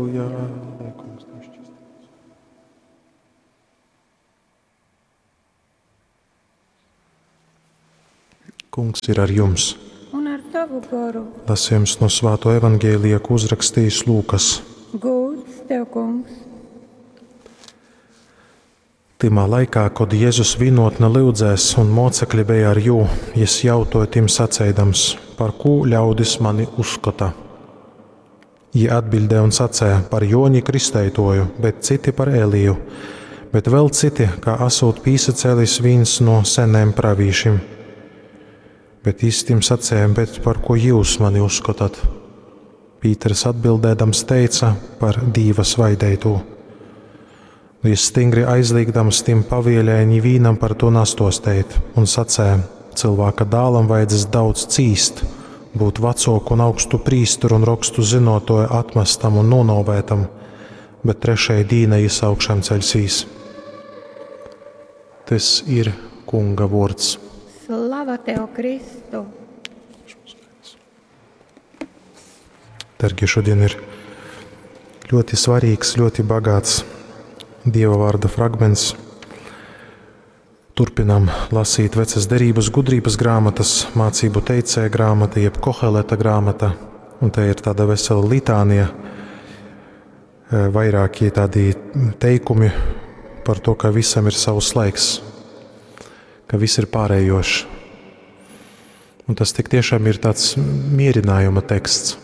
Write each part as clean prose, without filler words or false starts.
Lai kungs tevi šķīstītu. Kungs ir ar jums. Un ar tavu goru. Lasījums no Svāto evaņģēlija, ko uzrakstījis Lūkas. Gūds tev, kungs. Tymā laikā, kod Jēzus vienotne lyudzēs un mocekļi bija ar jū, jis jautoja tim saceidams, par kū ļaudis mani uzskata. Jī atbildēja un sacēja par Joni Kristeitoju, bet citi par Eliju, bet vēl citi, kā asūt pīsacēlis viens no seniem pravīšiem. Bet jis tim sacēja, bet par ko jūs mani uzskotat? Pīters atbildēdams teica par Dīva svaidētū. Jis stingri aizliegdams tim pavieļēja nivīnam par to nastosteit un sacēja, cilvēka dālam vajadzēs daudz cīst, būt vecoku un augstu prīsteru un rokstu zinotoju atmestam un nonovētam, bet trešajai dīnai jis augšām ceļsīs. Tas ir kunga vords. Slava tev, Kristu! Dargie, šodien ir ļoti svarīgs, ļoti bagāts Dieva vārda fragments. Turpinām lasīt vecas derības gudrības grāmatas, mācību teicēja grāmata, jeb Koheleta grāmata, un te ir tāda vesela litānija, vairāki tādi teikumi par to, ka visam ir savs laiks, ka viss ir pārējošs. Un tas tik tiešām ir tāds mierinājuma teksts,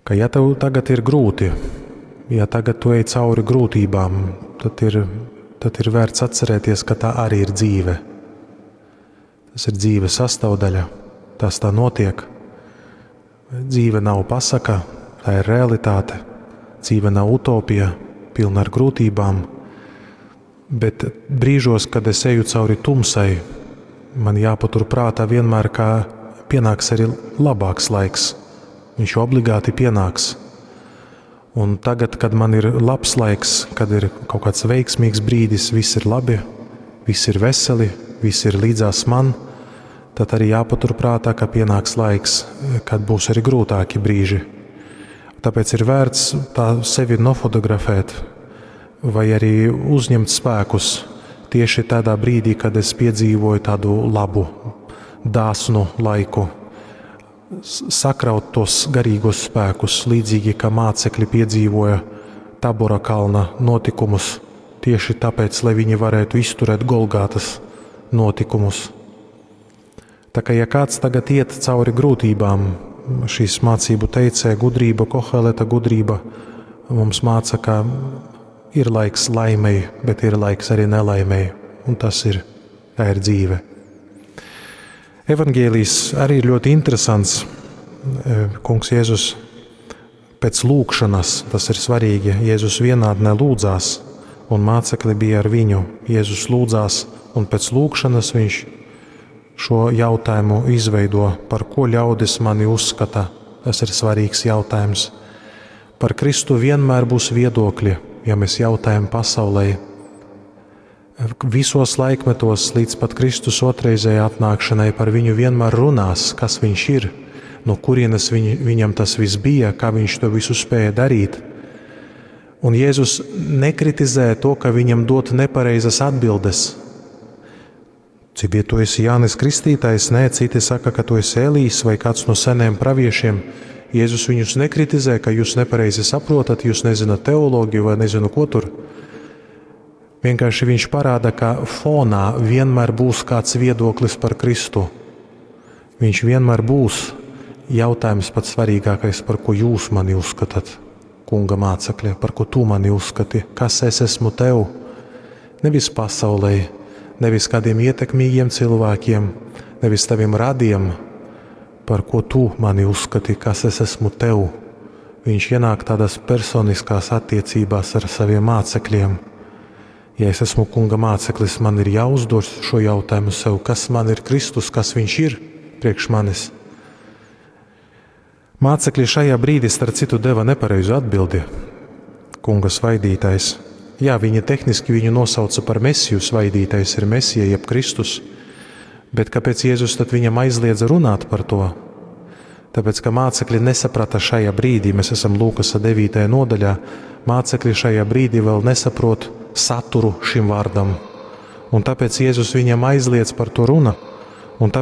ka ja tev tagad ir grūti, ja tagad tu ej cauri grūtībām, tad ir vērts atcerēties, ka tā arī ir dzīve. Tas ir dzīves sastāvdaļa, tas tā notiek. Dzīve nav pasaka, tā ir realitāte. Dzīve nav utopija, pilna ar grūtībām. Bet brīžos, kad es eju cauri tumsai, man jāpatur prātā vienmēr, ka pienāks arī labāks laiks. Viņš obligāti pienāks. Un tagad, kad man ir labs laiks, kad ir kaut kāds veiksmīgs brīdis, viss ir labi, viss ir veseli, viss ir līdzās man, tad arī jāpatur prātā, ka pienāks laiks, kad būs arī grūtāki brīži. Tāpēc ir vērts tā sevi nofotografēt vai arī uzņemt spēkus tieši tādā brīdī, kad es piedzīvoju tādu labu, dāsnu laiku. Sakraut tos garīgos spēkus, līdzīgi kā mācekļi piedzīvoja Tabora kalna notikumus, tieši tāpēc, lai viņi varētu izturēt Golgātas notikumus. Tā kā ja kāds tagad iet cauri grūtībām, šīs mācību teicēja gudrība, Koheleta gudrība mums māca, ka ir laiks laimei, bet ir laiks arī nelaimei, un tā ir dzīve. Evangēlijs arī ir ļoti interesants. Kungs Jēzus pēc lūgšanas, tas ir svarīgi, Jēzus vienādnē lūdzās, un mācekļi bija ar viņu. Jēzus lūdzās, un pēc lūgšanas viņš šo jautājumu izveido, par ko ļaudis mani uzskata. Tas ir svarīgs jautājums. Par Kristu vienmēr būs viedokļi, ja mēs jautājam pasaulē. Visos laikmetos līdz pat Kristus otrreizējai atnākšanai par viņu vienmēr runās, kas viņš ir, no kurienes viņam tas viss bija, kā viņš to visu spēja darīt. Un Jēzus nekritizē to, ka viņam dot nepareizas atbildes. Cik ja tu esi Jānis Kristītājs, nē, citi saka, ka tu esi Elīs vai kāds no seniem praviešiem. Jēzus viņus nekritizē, ka jūs nepareizi saprotat, jūs nezināt teoloģiju vai nezinu, ko tur. Vienkārši viņš parāda, ka fonā vienmēr būs kāds viedoklis par Kristu. Viņš vienmēr būs jautājums pats svarīgākais, par ko jūs mani uzskatāt, kunga mācekļi, par ko tu mani uzskati, kas es esmu tev. Nevis pasaulē, nevis kādiem ietekmīgiem cilvēkiem, nevis taviem radiem, par ko tu mani uzskati, kas es esmu tev. Viņš ienāk tādās personiskās attiecībās ar saviem mācekļiem. Ja es esmu kunga māceklis, man ir jāuzdod šo jautājumu sev, kas man ir Kristus, kas viņš ir priekš manis. Mācekļi šajā brīdī, starp citu, deva nepareizu atbildi. Kunga svaidītais. Jā, viņi tehniski viņu nosauca par Mesiju, svaidītais ir Mesija, jeb Kristus. Bet kāpēc Jēzus tad viņam aizliedza runāt par to? Tāpēc, ka mācekļi nesaprata šajā brīdī, mēs esam Lūkasa 9. nodaļā, mācekļi šajā brīdī vēl nesaprot saturu šim vārdam. Un tāpēc Jēzus viņiem aizliedz par to runa.